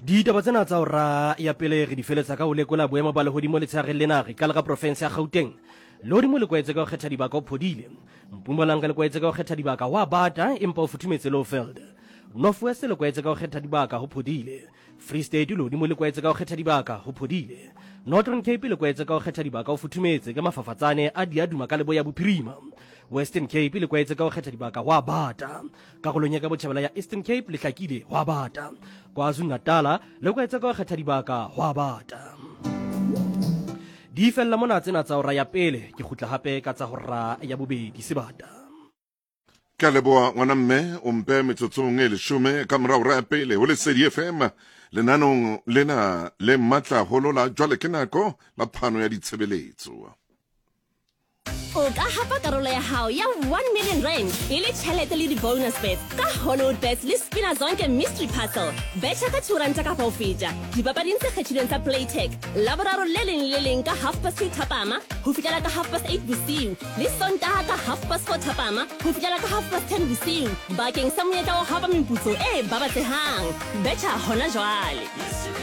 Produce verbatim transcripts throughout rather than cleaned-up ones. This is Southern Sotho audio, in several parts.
Ditaba tsena tsa hora ya pele re di feletsa ka ho lekola boemo ba lehodimo letshegareng lena. Re qala ka profense ya Gauteng. Lehodimo le kwaetse ka ho kgetha dibaka o phodile. Mpumalanga le kwaetse ka ho kgetha dibaka ho a bata empa o futhumetse Lowveld. North West le kwaetse ka ho kgetha dibaka ho phodile. Free State lehodimo le kwaetse ka ho kgetha dibaka ho phodile. Northern Cape le kwaetse ka ho kgetha dibaka ho futhumetse ka mafafatsane a diaduma ka leboya bophirima. Western Cape le kwaetse ka ho kgetha dibaka ho a bata. Karolong ya ka botjhabela ya Eastern Cape le hlakile ho a bata. KwaZulu-Natal le kwaetse ka ho kgetha dibaka ho a bata. Di fella mona tsena tsa hora ya pele, ke kgutla hape ka tsa hora ya bobedi sebata. Ke a leboha ngwana mme, o mpe metsotsong e leshome ka mora hora ya pele ho Lesedi F M lenanong lena le matla haholo la jwale ke nako la phano ya ditshebeletso. O ka hapa karolo ya hao ya one million rand e le tjhelete le di-bonus bets ka Hollywood Bets le Spina Zonke Mystery Puzzle. Betjha ka two ranta kapa ho feta dipapading tse kgethilweng tsa Playtech Laboraro le leng le leng ka half past two thapama ho fihlela ka half past eight bosiu le Sontaha ka half past four thapama ho fihlela ka half past ten bosiu bakeng sa monyetla wa ho hapa meputso e babatsehang. Betjha hona jwale.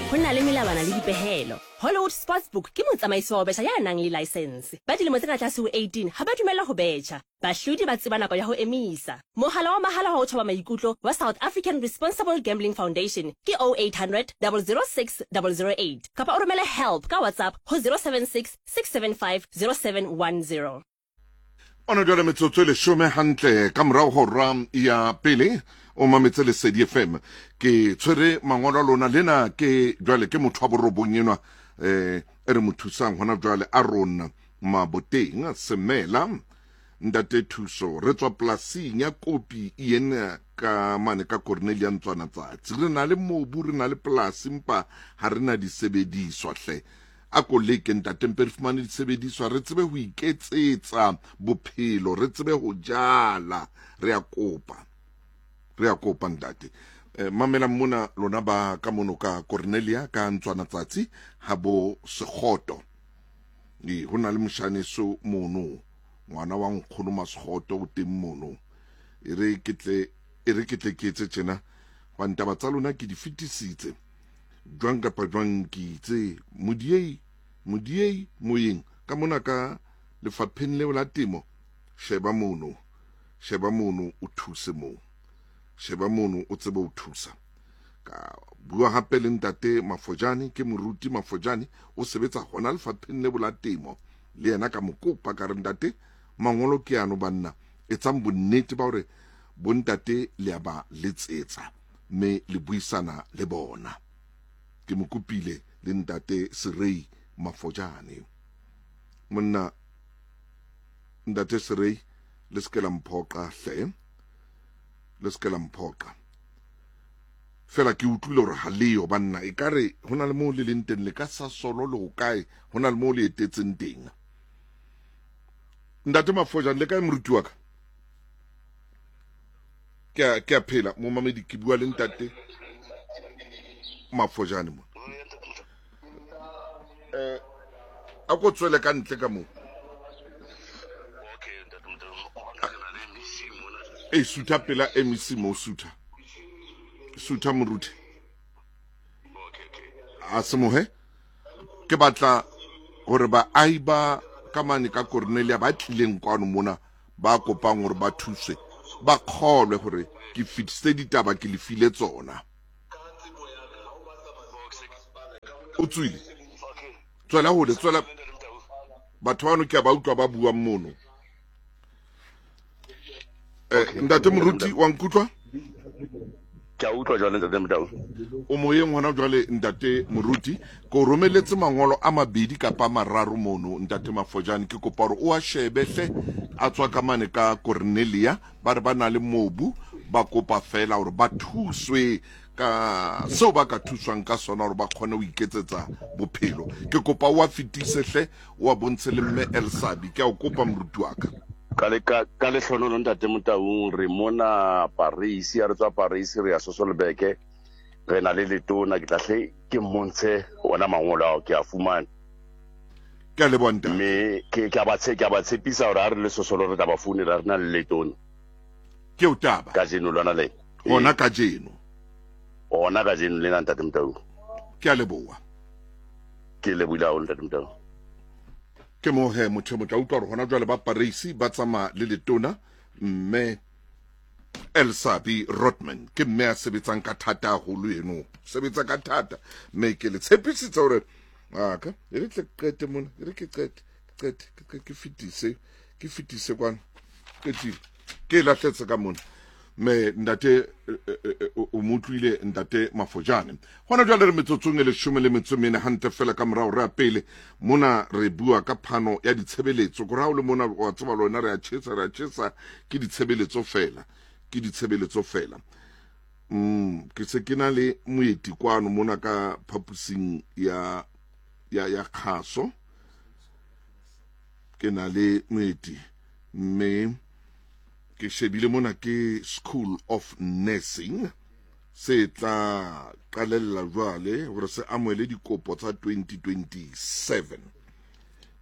Ho na le melawana le dipehelo. Hollywood Sportsbook ke motsamaisi wa ho betjha ya nang le license. Ba dilemo tse ka tlase ho eighteen ha ba dumellwa ho betjha. Bahlodi ba tseba nako ya ho emisa. Mohala wa mahala wa ho thoba maikutlo wa South African Responsible Gambling Foundation ke oh eight hundred double zero six double zero eight kapa o romele help ka WhatsApp ho zero seven six six seven five zero seven one zero. Ona jwale metsotso e leshome hantle ka morao hora ya pele o mametse Lesedi F M. Ke tshwere mangolo a lona lena ke jwale ke motho wa borobong enwa eh e re mo thusang hona jwale a rona Maboteng Semela ntate Thuso re tswa polasing ya Kopi ena ka mane ka Cornelia Ntswana tsatsi. Re na le mobu, re na le polasi empa ha re na disebediswa hle. A ko leke ntate mpe re fumane disebediswa re tsebe ho iketsetsa bophelo, re tsebe ho jala. Re a kopa, re a kopa ntate. Eh, mamela mona lona ba ka mono ka Cornelia ka Ntswana tsatsi ha bo Sekgoto. Ee, ho na le moshaneso mono, ngwana wa nkgono Masekgoto o teng mono. E re ke tle, e re ke tle ke etse tjena, hobane taba tsa lona ke di fetisitse. Jwang kapa jwang ke itse modiei, modiei moyeng ka mona ka lefapheng leo la temo, sheba mono, sheba mono o thuse moo, sheba mono o tsebe ho thusa. Ka bua hape le ntate Mafojane, ke moruti Mafojane, o sebetsa hona lefapheng leo la temo. Le yena ka mo kopa ka re ntate mangolo ke ano banna, etsang bonnete ba hore bontate le a ba letsetsa mme le buisana le bona. Ke mo kopile le ntate Serei Mafojane. Monna ntate Serei, le se ke la mphoqa hle, le se ke la mphoqa. Fela ke utlwile hore ha leyo banna, ekare ho na le moo le leng teng, le ka Sasolo le ho kae, ho na le moo le etetseng teng. Ntate Mafojane, le kae moruti wa ka? Ke a, ke a phela, momamedi, ke bua le ntate Mafojane mona. Eh, a ko tswele ka ntle ka moo. E sutha pela M E C mo, sutha. Sutha moruti. A se mohe. Ke batla hore baahi ba ka mane ka Cornelia ba tlileng kwano mona ba kopang hore ba thuswe, ba kgolwe hore ke fetisitse ditaba, ke le file tsona. O tswile. Tswela hole, tswela. Batho bano ke a ba utlwa ba buang mono. Eh, ntate moruti wa nkutlwa? Ke a utlwa jwale ntate Motau. O moyeng hona jwale ntate moruti, ke o romeletse mangolo a mabedi kapa a mararo mono ntate Mafojane, ke kopa hore o a shebe hle, a tswa ka mane ka Cornelia, ba re ba na le mobu, ba kopa fela hore ba thuswe ka seo ba ka thuswang ka sona hore ba kgone ho iketsetsa bophelo. Ke kopa o a fetise hle, o a bontshe le mme Elsabe. Ke a o kopa moruti wa ka. Ka le, ka, ka lehlonono ntate Motaung, re mona Paris, ha re tswa Paris re ya Sosolbeke, re na le letona, ke tla hle ke mmontshe ona mangolo ao ke a fumane. Ke a leboha ntate. Mme ke, ke a ba tshe-, ke a ba tshepisa hore ha re le Sosolo re tla ba founela re na le letona. Ke o taba. Kajeno lona le. Hona kajeno. Hona kajeno lena ntate Motaung. Ke a leboha. Ke lebohile haholo ntate Motaung. Ke mo he motho motho a utlwa hore hona jwale ba Paris ba tsamaya le letona mme Elsabe Rottmann ke mme a sebetsang ka thata haholo eno, sebetsa ka thata, mme ke le tshepisitse hore aka e re tle qete mona, e re ke qete qete ke fetise ke fetise kwana qetile ke lahletse ka mona. Me ntate o motlwile ntate Mafojane. Hona jwale re metsotsong e leshome le metso mene hantle fela ka morao re a pele mona re bua ka phano ya ditshebeletso. Ko ra o le mona wa tseba lona re a tjhesa re a tjhesa ke ditshebeletso fela, ke ditshebeletso fela. Mm ke se ke na le moeti kwano mona ka phapusing ya ya ya kgaso. Ke na le moeti mme ke shebile mona ke School of Nursing se tla qalella jwale hore se amohele dikopo tsa twenty twenty-seven.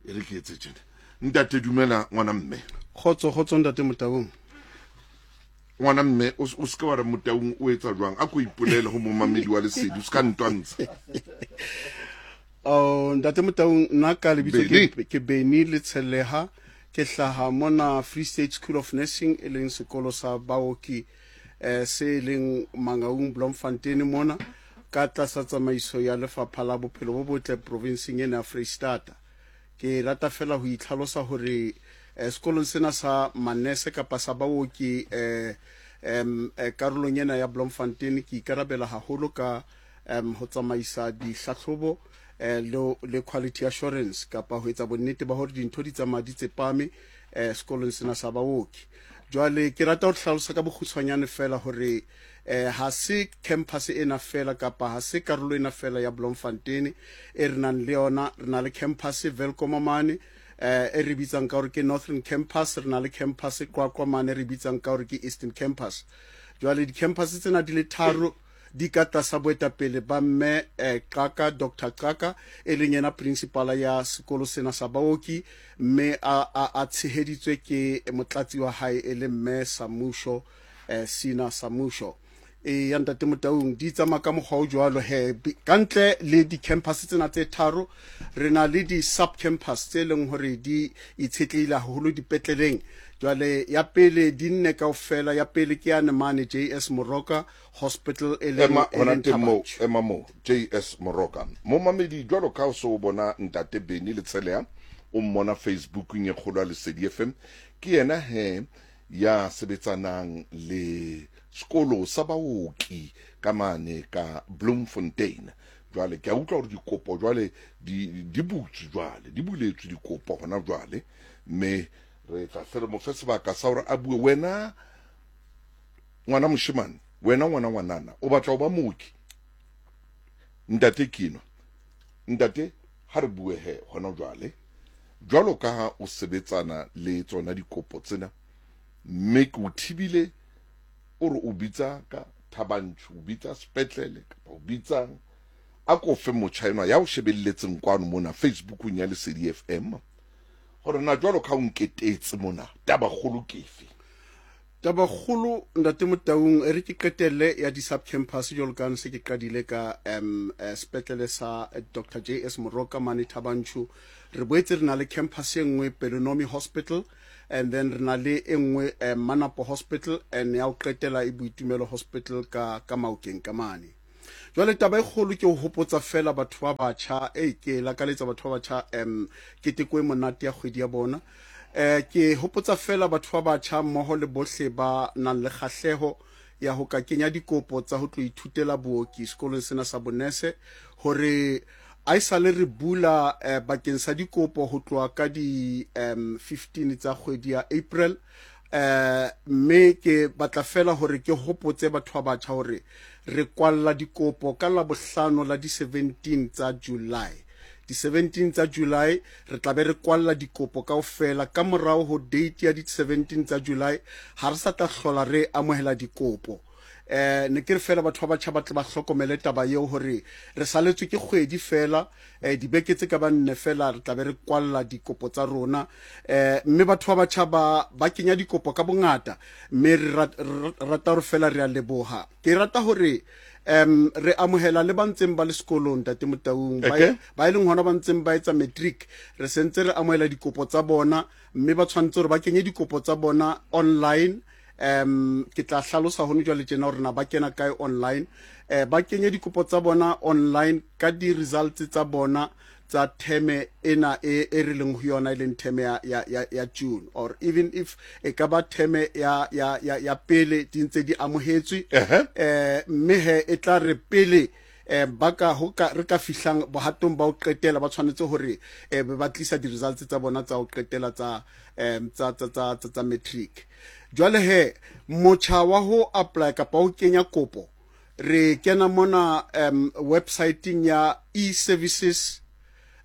E re ke etse tjena. Ntate dumela ngwana mme. Kgotso kgotso ntate Motaung. Ngwana mme o se ke wa re Motaung o etsa jwang, a ko ipolele ho momamedi wa Lesedi, o se ka ntwantsha. Oh ntate Motaung, nna ka lebitso ke ke Benny Letsheleha, ke hlaha mona Free State School of Nursing e leng sekolo sa baoki eh se leng Mangaung Bloemfontein mona ka tlasa tsamaiso ya lefapha la bophelo bo botle provinseng ena ya Freistata. Ke rata fela ho itlhalosa hore eh, sekolong sena sa manese kapa sa baoki eh em karolong ena ya Bloemfontein ke ikarabela haholo ka em ho tsamaisa dihlahlobo eh le le quality assurance kapa ho etsa bonnete ba hore dintho di tsamaya di tsepame eh sekolong sena sa baoki. Jwale ke rata ho hlalosa ka bokgutshwanyane fela hore eh ha se campus ena fela kapa ha se karolo ena fela ya Bloemfontein e re nang le yona. Re na le campus Welkom mane eh e re bitsang ka hore ke Northern Campus, re na le campus Qwaqwa mane re bitsang ka hore ke Eastern Campus. Jwale di-campus tsena di le tharo di ka tlasa boetapele ba mme eh, Qaka, Doctor Qaka e leng yena principal ya sekolo sena sa baoki, mme a a, a tsheheditswe ke motlatsi wa hae e le mme Samusho eh, Sina Samusho. E ya ntate Motaung di tsamaya ka mokgwa o jwalo he. Ka ntle le di-campus tsena tse tharo re na le di-sub campus tse leng hore di itshetlehile haholo dipetleleng. Jwale ya pele di nne kaofela, ya pele ke yane mane J S Moroka Hospital e leng ema hona teng moo, ema moo J S Moroka. Momamedi jwalo ka o so bona ntate Benny Letsheleha o mmona Facebookeng e kgolo ya Lesedi F M, ke yena he ya sebetsanang le sekolo sa baoki ka mane ka Bloemfontein. Jwale ke a utlwa hore dikopo jwale di di butswe jwale, di buletswe dikopo hona jwale, mme re tla hle re mo fe sebaka sa hore a bue. Wena ngwana moshemane, wena ngwana ngwanana o batla ho ba mooki, ntate kino ntate ha re bue he hona jwale jwalo ka ha o sebetsana le tsona dikopo tsena, mme ke o thibile o re o bitsa ka Thabanchu, o bitsa sepetlele kapa o bitsang, a ko fe motjha enwa ya o shebelletseng kwano mona Facebookong ya Lesedi F M hore na jwalo ka o nketetse mona taba kgolo ke efe? Taba kgolo ntate Motaung e re ke qetelle ya di-sub campus jwalo ka se ke qadile ka um sepetlele sa Doctor J S Moroka mane Thabanchu. Re boetse re na le campus e nngwe Pelonomi Hospital, and then re na le e nngwe Manapo Hospital, and ya ho qetela e Boitumelo Hospital ka ka Maokeng ka mane. Jwale taba e kgolo ke ho hopotsa fela batho ba batjha, e ke lakaletsa batho ba batjha um keteko e monate ya kgwedi ya bona. Eh ke hopotsa fela batho ba batjha mmoho le bohle ba nang le kgahleho ya ho ka kenya dikopo tsa ho tlo ithutela booki sekolong sena sa bonese hore a isale re bula eh, bakeng sa dikopo ho tloha ka di um, fifteen tsa kgwedi ya April. Eh mme ke batla fela hore ke hopotse batho ba batjha hore re kwalla dikopo ka la bohlano la di seventeen tsa July. Di seventeen tsa July re tla be re kwalla dikopo kaofela. Ka morao ho date ya di seventeen tsa July ha re sa tla hlola re amohela dikopo. Eh ne ke re fela batho ba batjha ba tle ba hlokomele taba eo hore re saletswe ke kgwedi fela, eh dibeke tse ka ba nne fela re tla be re kwalla dikopo tsa rona. Eh mme batho ba batjha ba ba kenya dikopo ka bongata, mme re rata hore fela re a leboha. Ke rata hore Um re amohela le ba ntseng ba le sekolong Ntate Motaung, ba Okay. ba e leng hona ba ntseng ba etsa matric, re sentse re amohela dikopo tsa bona, mme ba tshwanetse hore ba kenye dikopo tsa bona online. Um ke tla hlalosa hone jwale tjena hore na ba kena kae online. Eh ba kenye dikopo tsa bona online ka di-results tsa bona tsa theme ena e e re leng ho yona, e leng theme ya ya ya, ya June, or even if e ka ba theme ya ya ya, ya pele di ntse di amohetswe. Ehe. Eh mme he e tla re pele eh ba ka ho ka re ka fihlang bohatong ba ho qetela, ba tshwanetse hore eh be ba tlisa di-results tsa bona tsa ho qetela tsa em tsa tsa tsa tsa, tsa matric. Jwale he motjha wa ho apply kapa ho kenya kopo, re kena mona um websiteng ya e services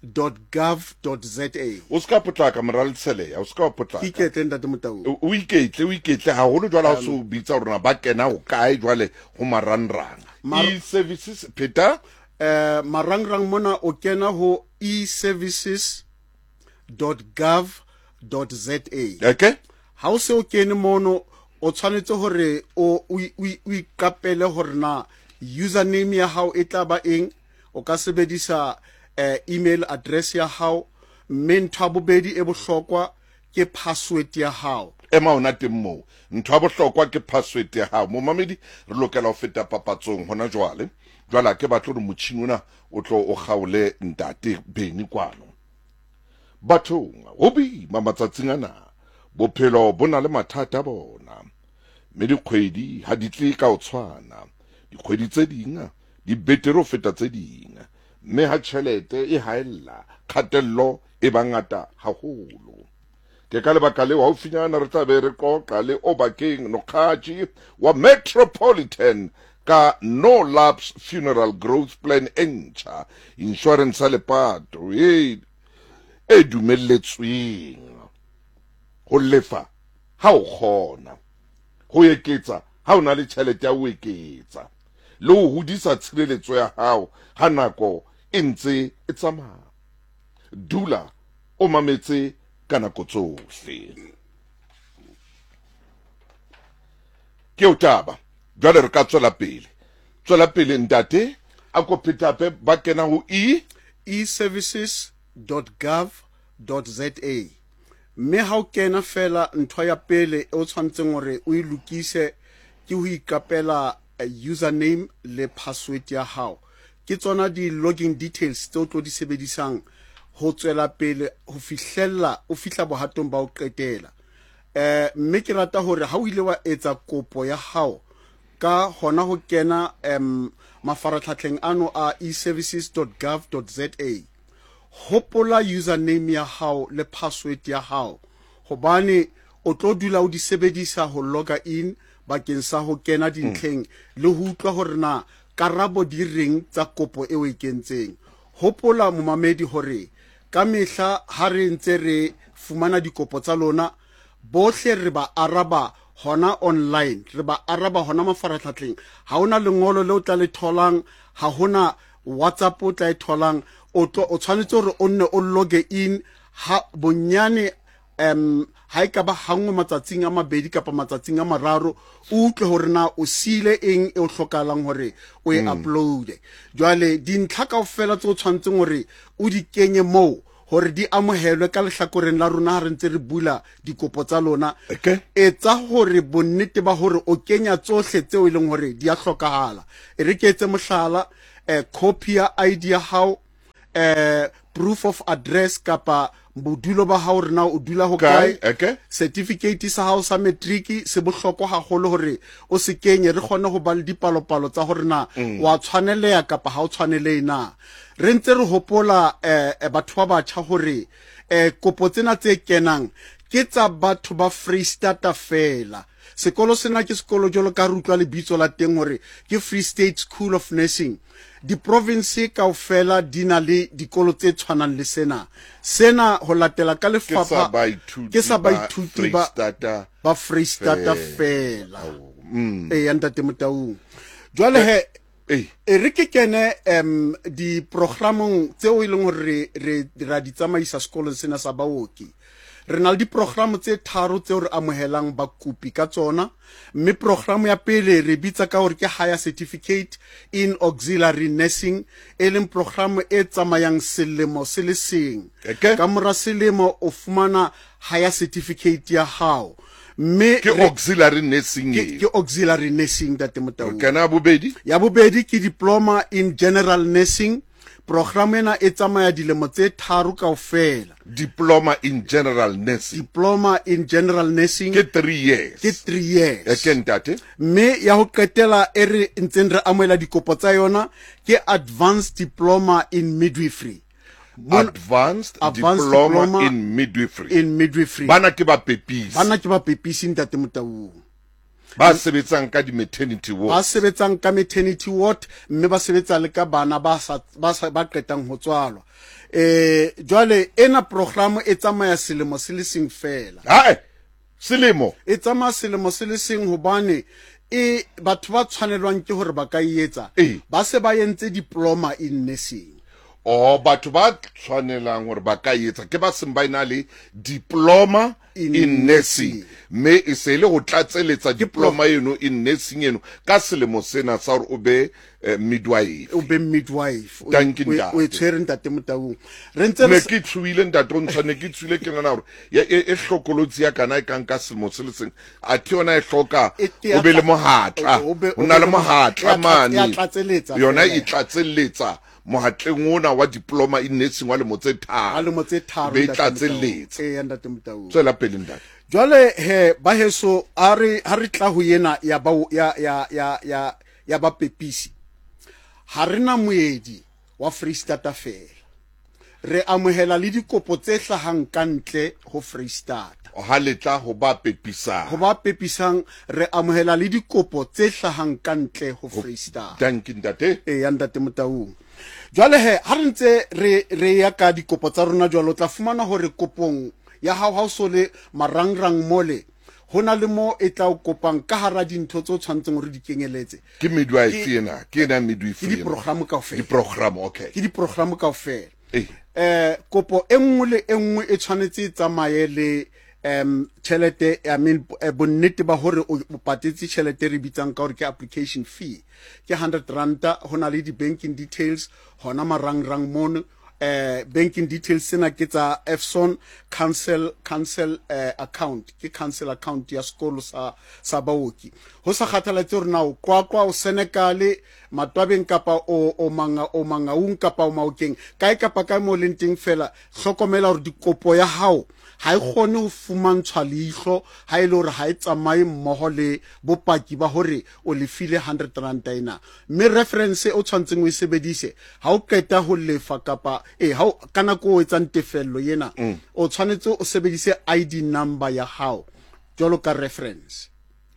dot gov dot za. O ska potlaka, mora Letsheleya, o ska potlaka. Iketle Ntate Motaung. O o iketle, o iketle haholo jwale ha o se o bitsa hore na ba kena ho kae jwale ho marangrang. Mar- E-services, pheta. Eh marangrang mona o kena ho e services dot gov dot za. Okay. Ha o se o kene mono, o tshwanetse hore o o o o iqapele hore na username ya hao e tla ba eng. O ka sebedisa eh, email address ya hao, mme ntho ya bobedi e bohlokwa ke password ya hao. Ema ona teng moo, ntho ya bohlokwa ke password ya hao. Momamedi, re lokela ho feta papatsong hona jwale. Jwale ha ke batle hore motjhini ona o tlo o kgaole Ntate Beni kwano. Bathong, ho boima matsatsing ana, bophelo bo na le mathata a bona, mme dikgwedi ha di tle ka ho tshwana. Dikgwedi tse ding di betere ho feta tse ding, mme ha tjhelete e haella, kgatello e ba ngata haholo. Ke ka lebaka leo haufinyana re tla be re qoqa le Obakeng Nokgatši wa Metropolitan ka No Lapse Funeral Growth Plan e ntjha, insurance ya lepato e e dumelletsweng ho lefa ha o kgona, ho eketsa ha o na le tjhelete ya ho eketsa, le ho hodisa tshireletso ya hao ha nako e ntse e tsamaya. Dula o mametse ka nako tsohle. Ke o taba jwale re ka tswela pele. Tswela pele ntate, a ko phetape, ba kena ho e e services dot gov dot za, mme ha o kena fela, ntho ya pele e o tshwanetseng hore o e lokise ke ho iqapela username le password ya hao. Ke tsona di-login details tse o tlo di sebedisang ho tswela pele ho fihlella o fihla bohatong ba ho qetela. Eh mme ke rata hore ha o ile wa etsa kopo ya hao ka hona ho kena um mafaratlhatlheng ano a e services dot gov dot za, hopola username ya hao le password ya hao, hobane o tlo dula o di sebedisa ho loga in bakeng sa ho kena dintlheng le ho utlwa hore na karabo di reng tsa kopo eo e kentseng. Hopola momamedi hore ka mehla ha re ntse re fumana dikopo tsa lona bohle, re ba araba hona online, re ba araba hona mafaratlhatlheng. Ha hona lengolo le o tla le tholang, ha hona WhatsApp o tla e tholang. O tlo o tshwanetse hore o nne o loge in ha bonyane um ha e ka ba hanngwe matsatsing a mabedi kapa matsatsing a mararo, o utlwe hore na o siile eng e o hlokahalang hore o e uploade. Jwale dintlha kaofela tse o tshwanetseng hore o di kenye moo hore di amohelwe ka lehlakoreng la rona ha re ntse re bula dikopo tsa lona, Okay. etsa hore bonnete ba hore o kenya tsohle tseo e leng hore di a hlokahala. E re ke etse mohlala, eh, copy ya I D ya hao, eh, proof of address kapa bodulo ba hao hore na o dula ho Kae? kae. Okay. Certificate sa hao sa matric se bohlokwa haholo hore o se kenye, re kgone ho ba le dipalopalo tsa hore na wa tshwaneleha kapa ha o tshwanelehe na. Re ntse re hopola eh, eh, batho ba batjha hore eh, kopo tsena tse kenang ke tsa batho ba Freistata fela. Sekolo sena ke sekolo jwalo ka re utlwa lebitso la teng hore ke Free State School of Nursing. Diprovince kaofela di na le dikolo tse tshwanang le sena. Sena ho latela ka Ke sa lefapha baithuti ke sa ba baithuti ba Freistata ba Freistata fela. fela. Mm. Ee, Ntate Motaung, jwale he Eh. e re ke kene um diprogramong tseo e leng hore re re ra di tsamaisa sekolong sena sa baoki. Re na le diprogramo tse tharo tseo re amohelang bakopi ka tsona, mme programo ya pele re bitsa ka hore ke Higher Certificate in Auxiliary Nursing, e leng programo e tsamayang selemo se le seng. Okay. Ka mora selemo o fumana Higher Certificate ya hao. Mme ke auxiliary nursing ke, ke auxiliary nursing ntate Motaung. Kana bobedi? Ya bobedi ke Diploma in General Nursing. Program ena e tsamaya dilemo tse tharo kaofela. Diploma in General Nursing. Diploma in General Nursing ke three years. Ke three years. E ke ntate. Mme ya ho qetela e re ntseng re amohela dikopo tsa yona ke Advanced Diploma in Midwifery. Mon, Advanced, Advanced Diploma, Diploma in Midwifery. In Midwifery. Bana ke ba pepisi. Bana ke ba pepisi ntate Motaung. Ba sebetsang ka di maternity ward. Ba sebetsang ka maternity ward, mme ba sebetsa le ka bana ba sa ba sa ba qetang ho tswalwa. Eh jwale ena program e tsamaya selemo se le seng fela. Hae, selemo. E tsamaya selemo se le seng hobane e batho ba tshwanelwang ke hore ba ka etsa ba se ba entse diploma in nursing. Oh, batho ba tshwanelang hore ba ka etsa ke ba seng ba ena le diploma in, in nursing, mme e se le ho tlatseletsa diploma eno in nursing eno ka selemo sena sa hore o be eh, midwife. O be midwife. O e tshwere ntate Motaung. Re ntse ne ke tshuile ntate o ntshwane ke tshuile ke nana hore e e hlokolotsi ya kana e kang ka selemo se le seng a thi yona e hloka o be le mohatla, o na le mohatla mane yona e tlatseletsa mohatleng ona wa diploma in nursing wa lemo tse tharo. Wa lemo tse tharo be tlatseletsa. Eh ntate Motaung. Tswela pele ntate. Jwale he ba heso a re ha re tla ho yena ya ba ya ya ya ya ya ba pepisi. Ha rena moedi wa Freistata fela. Re amohela le dikopo tse hlahang ka ntle ho Freistata. Ha le tla ho ba pepisang. Ho ba pepisang re amohela le dikopo tse hlahang ka ntle ho Freistata. Thank you ntate. Eh ya ntate Motaung. Jwale he ha re ntse re re ya ka dikopo tsa rona jwalo tla fumana hore kopong ya hao ha o so le marangrang mole hona le mo e tla o kopang ka hara dintho tse o tshwantseng hore di kenyeletse. Ke midwife ena, ke ena midwife. Ke diprogram kaofela. Diprogram, okay. Ke diprogram kaofela. Eh. Eh kopo e nngwe le e nngwe e tshwanetse e tsamaye le um tjhelete, I mean bonnete ba hore o patetse tjhelete re bitsang ka hore ke application fee. Ke hundred ranta, hona le di banking details hona marangrang mono. Eh banking details sena ke tsa Efson council council eh, account, ke council account ya sekolo sa sa baoki. Ho sa kgathaletse hore na o Qwaqwa, o Senekale, Matwabeng kapa o o manga o Mangaung kapa o Maokeng, kae kapa kae mo leng teng fela, hlokomela hore dikopo ya hao ha e kgone ho fumantshwa leihlo ha e le hore ha e tsamaye mmoho le bopaki ba hore o lefile hundred rand ena. Mme reference o tshwantseng o e sebedise ha o qeta ho lefa kapa eh ha ka nako o etsang tefello yena, o tshwanetse o sebedise I D number ya hao jwalo ka reference.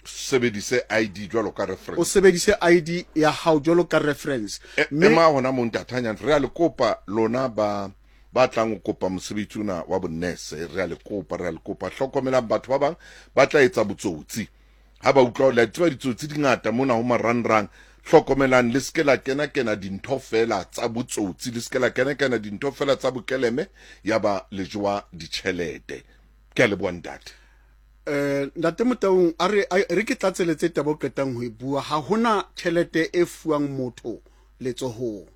Sebedise I D jwalo ka reference. O sebedise I D ya hao jwalo ka reference. Mme ma hona mo ntatanyana re a le kopa lona ba ba tlang ho kopa mosebetsi ona wa bonese, re a le kopa, re a le kopa hlokomelang batho ba bang ba tla etsa botsotsi. Ha ba utlwa le tseba ditsotsi di ngata mona ho marangrang, hlokomelang le se la kena kena dintho fela tsa botsotsi, le se la kena kena dintho fela tsa bokeleme ya ba le jowa ditjhelete. Ke a leboha ntate. Eh ntate Motaung, a re re ke tlatseletse taba o qetang ho e bua. Ha hona tjhelete e fuwang motho letsohong.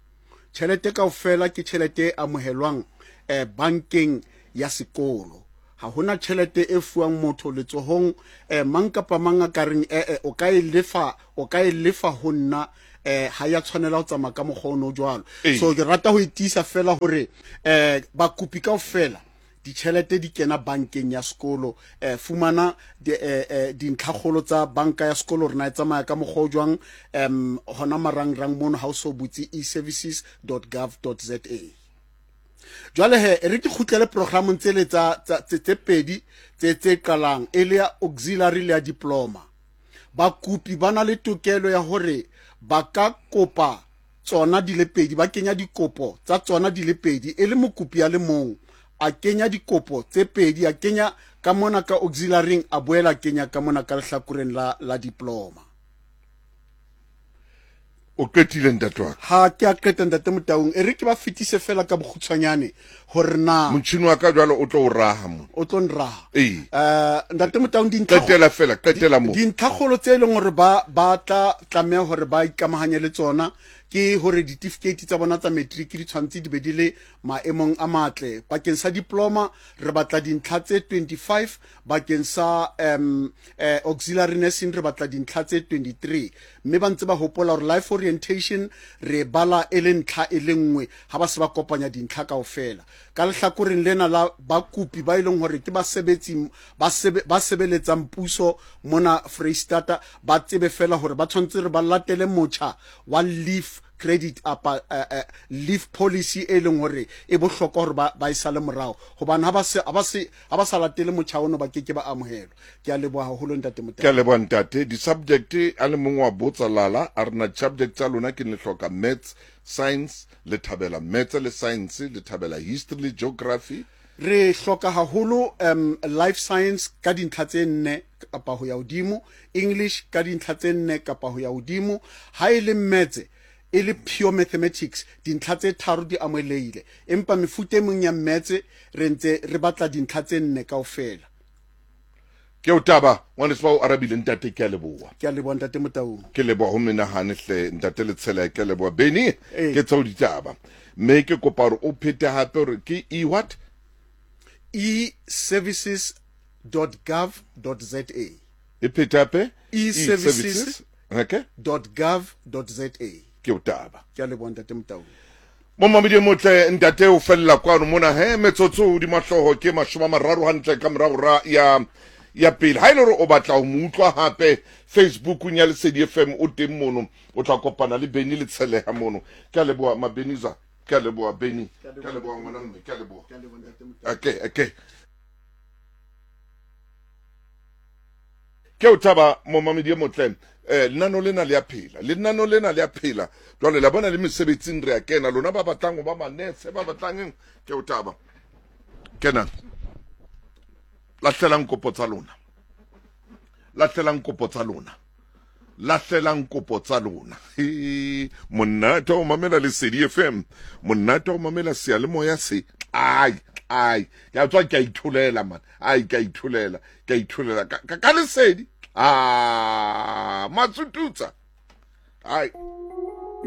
Tjhelete kaofela ke tjhelete e amohelwang eh bankeng ya sekolo. Ha hona tjhelete e fuwang motho letsohong, eh mang kapa mang a ka reng eh eh o ka e lefa, o ka e lefa ho nna, eh ha ya tshwanela ho tsamaya ka mokgwa ono jwalo. So ke rata ho itisa fela hore eh bakopi kaofela ditjhelete di kena bankeng ya sekolo. Eh fumana dintlhakgolo tsa banka ya sekolo rena e tsamaya ka mokgwa o jwang, em hona marangrang mono ha o so butse e services dot gov dot za. Jwale he re ke kgutlele programong tsele tsa tse pedi tse tse qalang e le ya auxiliary le ya diploma. Bakopi ba na le tokelo ya hore ba ka kopa tsona di le pedi, ba kenya dikopo tsa tsona di le pedi e le mokopi a le mong a kenya dikopo tse pedi, a kenya ka mona ka auxiliaryng, a boela kenya ka mona ka lehlakoreng la la diploma. O qetile ntate wa ka? Ha ke a qeta ntate Motaung, e re ke ba fetise fela ka bokgutshwanyane hore na motjhini wa ka jwalo o tlo o raha mo. O tlo nraha. Ee. Eh ntate Motaung, dintlha Qetela fela, qetela mo. Dintlhakgolo tse e leng hore ba ba tla tlameha hore ba ikamahanye le tsona ke hore ditifikeiti tsa bona tsa matric di tshwanetse di be di le maemong a matle. Bakeng sa diploma re batla dintlha tse twenty-five, bakeng sa um eh, auxiliary nursing re batla dintlha tse twenty-three. Mme ba ntse ba hopola hore life orientation re bala e le ntlha e le nngwe ha ba se ba kopanya dintlha kaofela. Ka lehlakoreng lena la bakopi ba e leng hore ke basebetsi ba sebe, ba sebeletsang puso mona Freistata, ba tsebe fela hore ba tshwanetse re ba latele motjha wa leave credit apa uh, uh, leave policy e leng hore e bohlokwa hore ba ba e sale morao, hobane ha ba se ha ba se ha ba sa latele motjha ono ba ke ke ba amohelwa. Ke a leboha haholo ntate Motaung. Ke a leboha ntate. Di-subject a le mong wa botsa lala a re na subject tsa lona ke ne hloka maths, science, le thabela maths le science, le thabela history le geography. Re hloka haholo um life science ka dintlha tse nne kapa ho ya hodimo, English ka dintlha tse nne kapa ho ya hodimo, ha e le maths e le pure mathematics dintlha tse tharo di amohelehile, empa mefuta e meng ya maths re ntse re batla dintlha tse nne kaofela. Ke o taba ngwaneso ba o arabile ntate, ke a leboha. Ke a leboha ntate Motaung. Ke leboha ho menahane hle ntate Letshela, ke a leboha Benny, Ee. ke tseo ditaba. Mme ke kopa hore o phete hape hore ke e what? e services dot gov dot za. E phete hape? E services Okay. dot gov dot za. Ke o taba. Ke a leboha ntate Motaung. Momamedi e motle ntate o fella kwano mona he metsotso hodima hlooho ke mashome a mararo hantle ka morao ra ya ya pele. Ha e le hore o batla ho mo utlwa hape Facebookung ya Lesedi F M o teng mono, o tla kopana le Benny Letsheleha mono. Ke a leboha Mabeniza, ke a leboha Benny, ke a leboha ngwana mme, ke a leboha. Okay, okay. Ke o thaba momamedi e motle. Eh lenano lena le a phela, lenano lena le a phela. Jwale la bona le mesebetsing re a kena, lona ba batlang ho ba manese, ba batlang eng, ke o thaba. Kena. Lahlelang kopo tsa lona. Lahlelang kopo tsa lona. Lahlelang kopo tsa lona. He, monate o mamela Lesedi F M. Monate o mamela seyalemoya se. Ai, ai. Ke a tswa ke a itholela man. Ai, ke a itholela, ke a itholela ka, ka, ka Lesedi. Ah, matsututsa. Ai.